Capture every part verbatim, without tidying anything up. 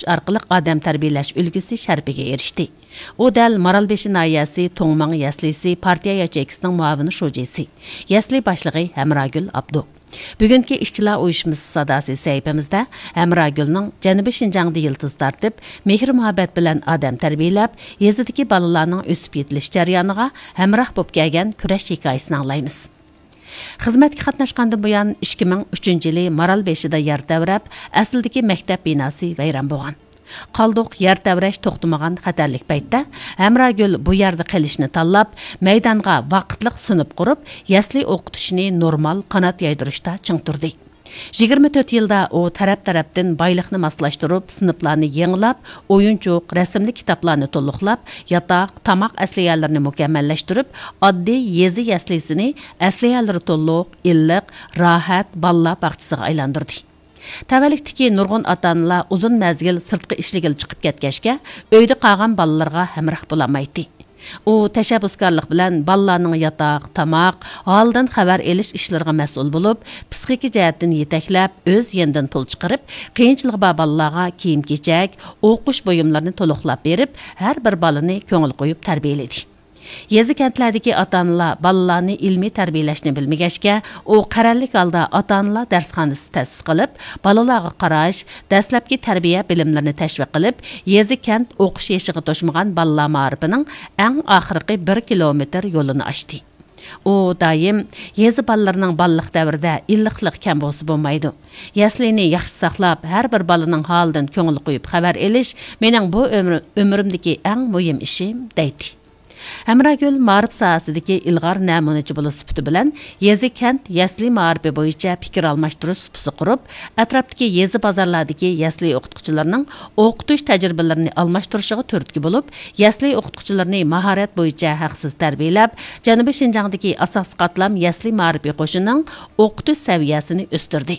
ئارقىلىق ئادەم تەربىيەلەش ئۈلگىسى شەرىپىگە ئېرىشتى. ئۇ دەل مارالبېشى ناھىيەسى توڭماڭ يەسلىسى پارتىيە ياچېيكىسىنىڭ مۇئاۋىن شۇجىسى، يەسلى باشلىقى ھەمراگۈل ئابدۇ. بۈگۈنكى ئىشچىلار ئۇيۇشمىسى ساداسى سەھىپىمىزدە ھەمراگۈلنىڭ جەنۇبىي شىنجاڭدا يىلتىز تارتىپ، مېھىر-مۇھەببەت بىلەن ئادەم تەربىيەلەپ، يېزىدىكى بالىلارنىڭ ئۆسۈپ يېتىلىش جەريانىغا ھەمراھ بولۇپ كەلگەن كۈرەش ھېكايىسىنى ئاڭلايمىز. خىزمەتكە قاتناشقاندىن بۇيان، ئىككى مىڭ ئۈچىنچى يىلى مارالبېشىدا يەر تەۋرەپ، ئەسلىدىكى مەكتەپ بىناسى ۋەيران بولغان. قالدۇق يەر تەۋرەش توختىمىغان خەتەرلىك پەيتتە، ھەمراگۈل بۇ يەردە قېلىشنى تاللاپ، مەيدانغا ۋاقىتلىق سىنىپ قۇرۇپ، يەسلى ئوقۇتۇشنى نورمال قانات يايدۇرۇشتا چىڭ تۇردى. يىگىرمە تۆت يىلدا ئۇ تەرەپ-تەرەپتىن بايلىقنى ماسلاشتۇرۇپ، سىنىپلارنى يېڭىلاپ، ئويۇنچۇق، رەسىملىك كىتابلارنى تولۇقلاپ، ياتاق، تاماق ئەسلىھەلىرىنى مۇكەممەللەشتۈرۈپ، ئاددىي يېزا يەسلىسىنى ئەسلىھەلىرى تولۇق، ئىللىق، راھەت بالىلار باغچىسىغا ئايلاندۇردى. تەۋەلىكتىكى نۇرغۇن ئاتا-ئانىلار ئۇزۇن مەزگىل سىرتقا ئىشلىگىلى چىقىپ كەتكەچكە، ئۆيدە قالغان بالىلىرىغا ھەمراھ بولالمايتتى. ئۇ تەشەببۇسكارلىق بىلەن بالىلارنىڭ ياتاق، تاماق، ھالىدىن خەۋەر ئېلىش ئىشلىرىغا مەسئۇل بولۇپ، پىسخىكا جەھەتتىن يېتەكلەپ، ئۆز يېنىدىن پۇل چىقىرىپ، قىيىنچىلىقى بار بالىلارغا كىيىم-كېچەك، ئوقۇش بۇيۇملىرىنى تولۇقلاپ بېرىپ، ھەر بىر بالىنى كۆڭۈل قويۇپ تەربىيەلىدى. يېزا-كەنتلەردىكى ئاتا-ئانىلار بالىلارنى ئىلمىي تەربىيەلەشنى بىلمىگەچكە، ئۇ قەرەللىك ھالدا ئاتا-ئانىلار دەرسخانىسى تەسىس قىلىپ، بالىلارغا قاراش، دەسلەپكى تەربىيە بىلىملىرىنى تەشۋىق قىلىپ، يېزا-كەنت ئوقۇش يېشىغا توشمىغان بالىلار مائارىپىنىڭ ئەڭ ئاخىرقى بىر كىلومېتىر يولىنى ئاچتى. ئۇ دائىم يېزا بالىلىرىنىڭ بالىلىق دەۋرىدە ئىللىقلىق كەم بولسا بولمايدۇ. يەسلىنى ياخشى ساقلاپ، ھەر بىر بالىنىڭ ھالىدىن كۆڭۈل قويۇپ خەۋەر ئېلىش مېنىڭ بۇ ئۆمرۈ-، ئۆمرۈمدىكى ئەڭ مۇھىم ئىشىم، دەيتتى. ھەمراگۈل مائارىپ ساھەسىدىكى ئىلغار نەمۇنىچى بولۇش سۈپىتى بىلەن يېزا-كەنت يەسلى مائارىپى بويىچە پىكىر ئالماشتۇرۇش سۇپىسى قۇرۇپ، ئەتراپتىكى يېزا بازارلاردىكى يەسلى ئوقۇتقۇچىلىرىنىڭ ئوقۇتۇش تەجرىبىلىرىنى ئالماشتۇرۇشىغا تۈرتكە بولۇپ، يەسلى ئوقۇتقۇچىلىرىنى ماھارەت بويىچە ھەقسىز تەربىيەلەپ، جەنۇبىي شىنجاڭدىكى ئاساسىي قاتلام يەسلى مائارىپى قوشۇنىنىڭ ئوقۇتۇش سەۋىيەسىنى ئۆستۈردى.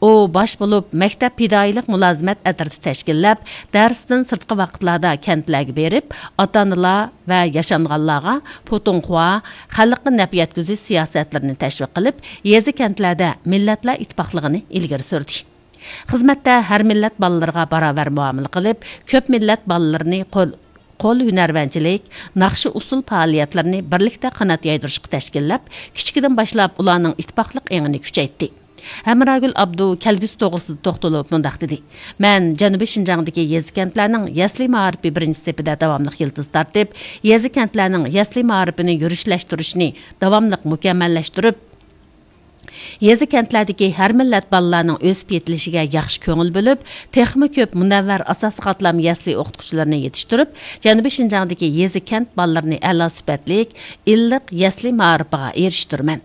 ئۇ باش بولۇپ مەكتەپ پىدائىيلىق مۇلازىمەت ئەترىتى تەشكىللەپ، دەرستىن سىرتقى ۋاقىتلاردا كەنتلەرگە بېرىپ، ئاتا-ئانىلار ۋە ياشانغانلارغا پۇتۇڭخۇا، خەلققە نەپ يەتكۈزۈش سىياسەتلىرىنى تەشۋىق قىلىپ، يېزا-كەنتلەردە مىللەتلەر ئىتتىپاقلىقىنى ئىلگىرى سۈردى. خىزمەتتە ھەر مىللەت بالىلىرىغا باراۋەر مۇئامىلە قىلىپ، كۆپ مىللەت بالىلىرىنى قول، قول ھۈنەرۋەنچىلىك، ناخشا-ئۇسسۇل پائالىيەتلىرىنى بىرلىكتە قانات يايدۇرۇشقا تەشكىللەپ، كىچىكىدىن باشلاپ ئۇلارنىڭ ئىتتىپاقلىق ئېڭىنى كۈچەيتتى. ھەمراگۈل ئابدۇ كەلگۈسى توغرىسىدا توختىلىپ مۇنداق دېدى: مەن جەنۇبىي شىنجاڭدىكى يېزا-كەنتلەرنىڭ يەسلى مائارىپى بىرىنچى سېپىدە داۋاملىق يىلتىز تارتىپ، يېزا-كەنتلەرنىڭ يەسلى مائارىپىنى يۈرۈشلەشتۈرۈشنى داۋاملىق مۇكەممەللەشتۈرۈپ، يېزا-كەنتلەردىكى ھەر مىللەت بالىلارنىڭ ئۆسۈپ يېتىلىشىگە ياخشى كۆڭۈل بۆلۈپ، تېخىمۇ كۆپ مۇنەۋۋەر ئاساسىي قاتلام يەسلى ئوقۇتقۇچىلىرىنى يېتىشتۈرۈپ، جەنۇبىي شىنجاڭدىكى يېزا-كەنت بالىلىرىنى ئەلا سۈپەتلىك، ئىللىق يەسلى مائارىپىغا ئېرىشتۈرىمەن.